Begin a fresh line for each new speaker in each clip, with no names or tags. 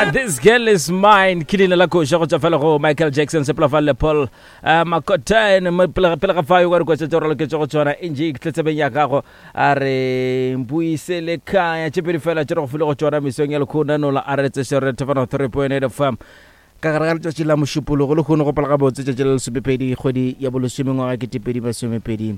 Ah, this girl is mine ke leina la koša go tšwa fela go michael jackson sepelafalle paul uh, makotane pele ga fayo ka dikotša tše raloketše go tšona nj ke tletsebeng ya gago a re mpuise le kaya tše pedi fela tše re go file go tšona mesong ya lekhona nola a re tseše re thefana 3.8 fm ka gare ga letšatši la mošupologo le kgone go pala gabotse tšatši la lesomepedi kgwedi ya bolesome ngwaga ketepedi masomepedi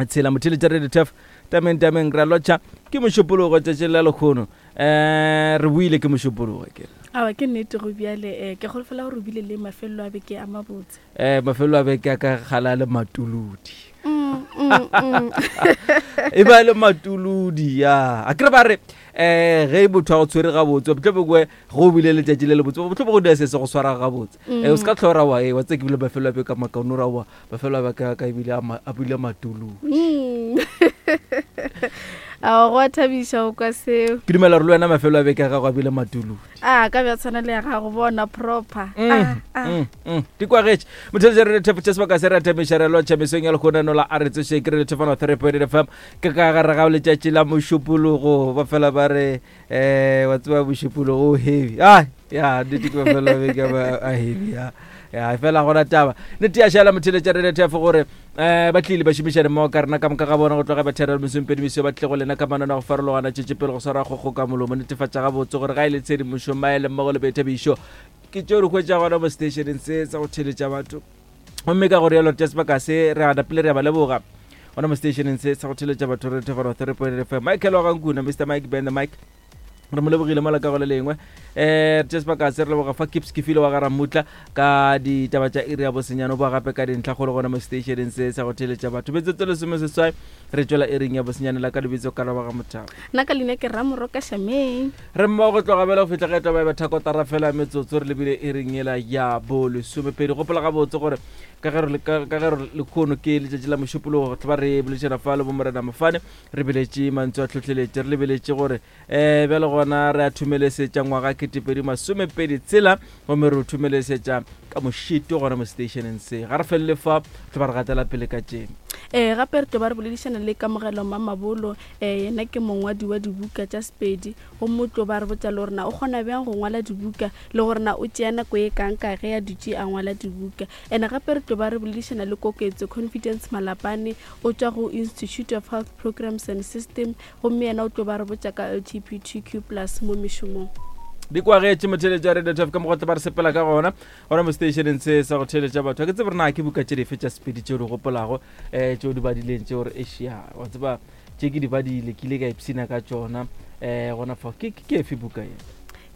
tshela motheletša radio tef tameng tameng ra lotšha ke mošupologo tšatši la lekgono um re buile ke mošupologo ke
awa ke nnete go bjale um ke golofela gore o bile le mafelelo a beke a mabotse
um mafelelo a beke a ka gala le matuludi mm, mm, mm. e ba le matuludi ya a kere ba re um ge motho a go tshwere gabotse botlho bongwe go bile letšatši le le botse botlho bo go dira se se go swara gabotse um o se ka tlhora wa e wa tse ke bile mafelelo a beke a makaone ra wa mafelo a baka ka ebile a bile matulu
mm. a go a thabiša go kwa seo
ke dumela gore le wena mafelo a beke a gago a bile matulu
a ka bja tshwana le ya gago bona proper
mm, ah, ah. mm, di kwagetše motheletša re thefo tša sebaka se re athamiša re lotšha mesong ya lekgonanola a re tsoše ke re lethefano three point fm ke ka gare ga letšatši la mošupologo ba fela ba re um wa tseba mošupologo o heavy a ya nnete ke mafelo a beke a heavy ya ya fela gona taba nnete ya šala motheletša re lethefo gore um ba tlile ba šomišane mmogo ka rena ka moka ga bona go tloga ba therela mesompedi mesio ba tlile go lena ka manana go farologana tšetše pele go swara kgokgo ka molomo netefatša gabotse gore ga e le tshedimošo maele mmogo le boithabišo ke tšeo re hwetša gona mo stationeng se sa go theletša batho gomme ka gore yalo tša sebaka se re a napile re a ba leboga gona mo stationeng se sa go theletša batho re thefano three point fm michael wa gankuna mr mike ben the mike re mo lebogile mola ka go le lengwe um tše sebaka se re leboga fa kips ke file wa ga ramutla ka ditaba tša iri ya bosenyane o boa gape ka dintlha kgolo gona mo stationeng se sa go theletša batho metsotso lesome seswai re tšwela iring ya bosenyane la ka lebitso ka laba ga mothabo
nna ka leina ke ramoroka shameng
re mmogo go tloga bjale go fihla ge taba ya bathakotara fela metsotso re lebile iring yela ya bolesomepedi gopola gabotse gore ka ge re lekhono ke letšatši la mošupologo go tla ba re boledišana fa le bomorena mofane re beletše mantswe a tlhohleletše re lebeletše gore um bjale gona re a thumelesetša ngwaga ketepedi masomepedi tsela gomme re o thumelesetša ka mošito gona mo stationeng se ga re felele fa tlo ba re gatela pele ka tšeng
um gape re tlo ba re boledišana le kamogelo mamabolo um yena ke mongwadi wa dibuka tša sepedi gomme o tlo ba re botša le gore na o kgona bjang go ngwala dibuka le gore na o tšea nako e kang ka ge a dutše a ngwala dibuka and gape re tlo ba re boledišana le koketso confidence malapane O tšwa go Institute of Health Programs and System gomme yena o tlo ba re botša ka LGBTQ plus mo mešomong.
Di kwagetše motheeletši wa Radio Turf ka mokgwa ba re sepela ka gona gona mo stationeng se sa go theeletša batho. Ga ke tsebe gore na ke buka tše dife tša Sepedi tšeo di gopolago um tšeo di badileng tšeo gore ešia wa tseba tše ke di badile ke ile ka ipshina ka tšona um gona fa ke ke efe buka ye?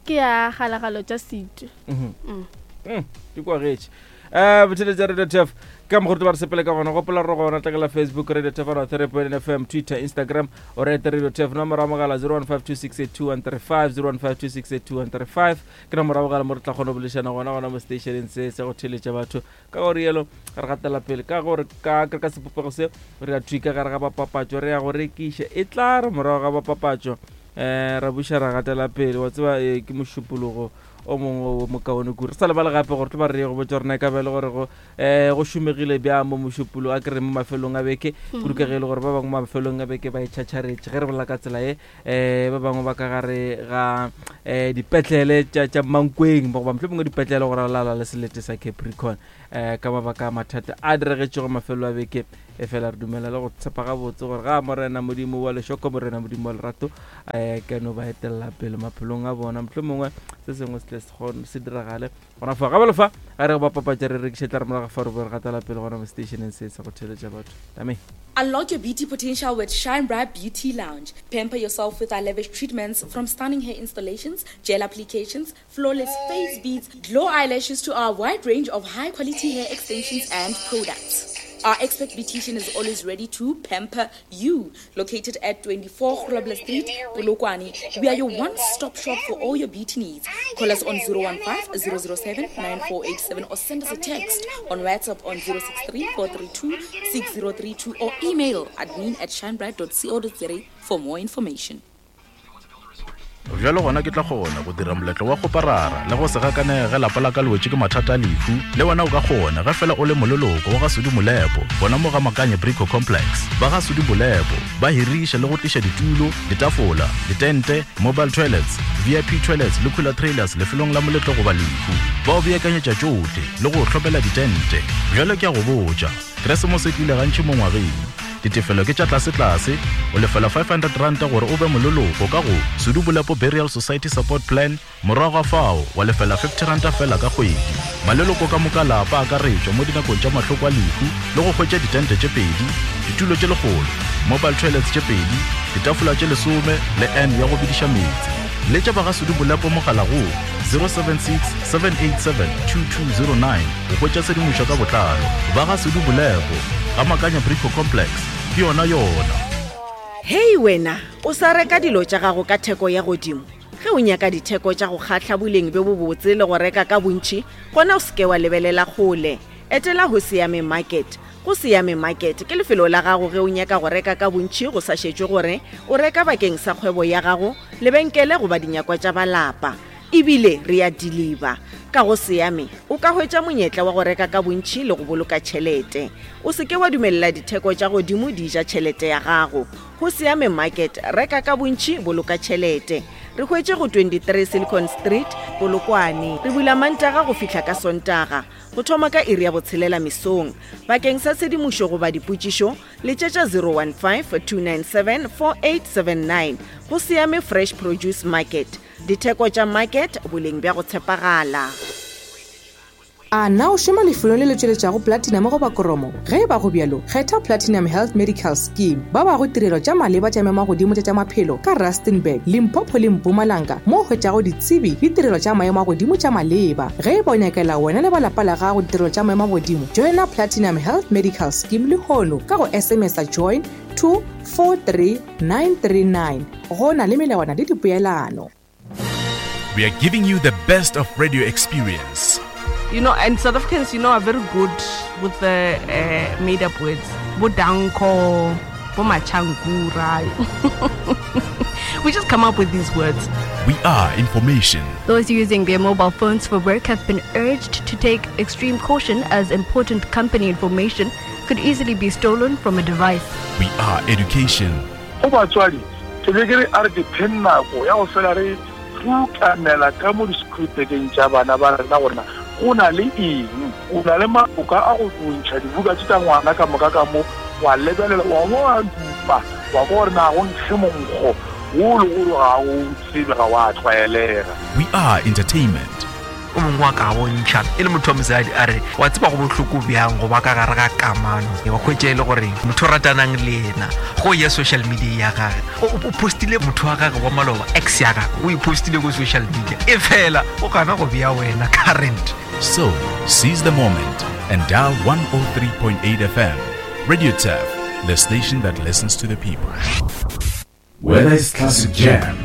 Ke ya Kgalagalo tša Setu.
Mhm. Mm. Mm, di kwagetše. um botheletša radio tf ka mokgwa ba re sepele ka gona gopola re gona tlakela facebook radio tf ra therapy fm twitter instagram o rete radio tf nomoro ya mogala 0152682135 0152682135 ke nomoro ya mogala mo re tla kgona go boledišana gona gona mo stationeng se se go theletša batho ka gore yelo re gatela pele ka gore ka ka sepopego se re ya thwi ka gare ga bapapatšo re ya go rekiša e tla re morago ga bapapatšo um ra buša ra gatela pele wa tseba eh, ke mošupologo o mongwe wo mokaone kudu re sa lebale gape gore tlo ba re ye go botsa gore na e ka ba e le gore go um go šomegile bjang mo mošupolo a kere mo mafelong a beke mm. kudu ka ge e le gore ba bangwe mafelong a beke ba itšhatšharetše ge re bolela ka tsela ye um ba bangwe ba ka gare ga um dipetlele tša mankweng goba mohlomongwe mongwe dipetlele go ralala le selete sa capricorn um ka mabaka a mathata a diregetšego mafelo a beke e fela re dumela le go tshepa gabotse gore ga morena modimo wa lešoko morena modimo wa lerato um ke no ba etelela pele maphelong a bona mohlho mongwe se sengwe se tle se diragale gona fa gabelo fa ga re go bapapatša re rekiše tla re morago fa re bo re gatela pele gona mo stationeng se sa go theeletša batho tame
Unlock your beauty potential with Shine Bright Beauty Lounge. Pamper yourself with our lavish treatments from stunning hair installations, gel applications, flawless face beads, glow eyelashes to our wide range of high quality hair extensions and products. Our expert beautician is always ready to pamper you. Located at 24 Grobler Street, Polokwane, we are your one-stop shop for all your beauty needs. Call us on 015 007 9487 or send us a text on WhatsApp on 063 432 6032 or email admin at shinebright.co.za for more information.
Bjalo gona ke tla kgona go dira moletlo wa kgoparara le go se gakanege ge lapa la ka le wetše ke mathata a lehu. Le wena o ka kgona ge fela o le moleloko wa ga Sudi Molepo gona mo ga Makanye Brico Complex. Ba ga Sudi Molepo ba hiriša le go tliša ditulo, ditafola, ditente, mobile toilets, VIP toilets le cooler trailers lefelong la moletlo goba lehu. Ba o beakanyetša tšohle le go o hlomela ditente. Bjalo ke a go botša, Keresemose e tlile gantši mo ngwageng. Ditefelo ke tša tlasetlase, o lefela R500 gore o be moleloko ka go Sudu Bolepo Burial Society Support Plan, morago ga fao wa lefela R50 feela ka kgwedi. Maleloko ka moka lapa a akaretšwa mo dinakong tša mahloko a lehu le go hwetša ditente tše pedi, ditulo tše lekgolo, mobile toilets tše pedi, ditafola tše lesome le urn ya go bidiša meetse. Letša ba ga Sudu Bolepo mogala go 076 787 2209 go hwetša tshedimošo ka botlalo. Ba ga Sudu Bolepo. Ga Makanya Brico Complex, ke yona yona.
Hei wena, o sa reka dilo tša gago ka theko ya godimo? Ge o nyaka ditheko tša go kgahla boleng bjo bobotse le go reka ka bontši, gona o se ke wa lebelela kgole. Etela Hosiame Market. Go Siame Market ke lefelo la gago ge o nyaka go reka ka bontši go sa šetšwe gore o reka bakeng sa kgwebo ya gago, lebenkele goba dinyakwa tša ba lapa. E bile re a diliba. Ka go Siame, o ka hwetša monyetla wa go reka ka bontši le go boloka tšhelete. O se ke wa dumelela ditheko tša godimo di ja tšhelete ya gago. Go Siame Market, reka ka bontši, boloka tšhelete. Re hwetše go 23 Silicon Street, Polokwane. Re bula Mantaga go fihla ka Sontaga, go thoma ka iri ya botshelela mesong. Bakeng sa tshedimošo goba dipotšišo, Letšetša 015-297-4879. Go Siame Fresh Produce Market. Ditheko tša market, boleng bja go tshepagala.
A na o šoma lefelong le le tšweletšago platinum goba koromo? Ge e ba go bjalo, kgetha Platinum Health Medical Scheme. Ba bago tirelo tša maleba tša maemagodimo tša tša maphelo ka Rustenburg, Limpopo le Mpumalanga mo o hwetšago ditsebi le tirelo tša maemo a godimo tša maleba. Ge e ba o nyakela wena le ba lapa la gago ditirelo tša maemo a godimo, joina Platinum Health Medical Scheme lehono ka go SMS-a join to 43939. Go na le melawana le dipoelano.
We are giving you the best of radio experience.
You know, and South Africans, you know, are very good with the uh, made up words. Bodanko, Bomachankura. we just come up with these words.
We are information.
Those using their mobile phones for work have been urged to take extreme caution as important company information could easily be stolen from a device.
We are education.
Go batswadi, ke be ke re a re dipheng nako ya go fela re rukanela ka mo di-schoolbageng tša bana ba rena gore na go na le eng. O na le maloka a go ntšha dibuka tše tša ngwana ka moka ka mo, wa lebelela, wa bo wa dupa, wa kwa gore na go nkge monkgo wo le gore ga o tsebe, ga wa tlwaelega.
We are entertainment.
O mongwe wa ka bontšha e le motho wa mosadi a re wa tseba go bohloko bjang go ba ka gare ga kamano wa hwetša e le gore motho o ratanang le yena go ya social media ya gage o postile motho wa gage wa maloba ex ya gage o e postile ko social media e fela o gana go bea wena current.
So, seize the moment and dial 103.8 FM. Radio Turf, the station that listens to the people. Whether it's classic jam,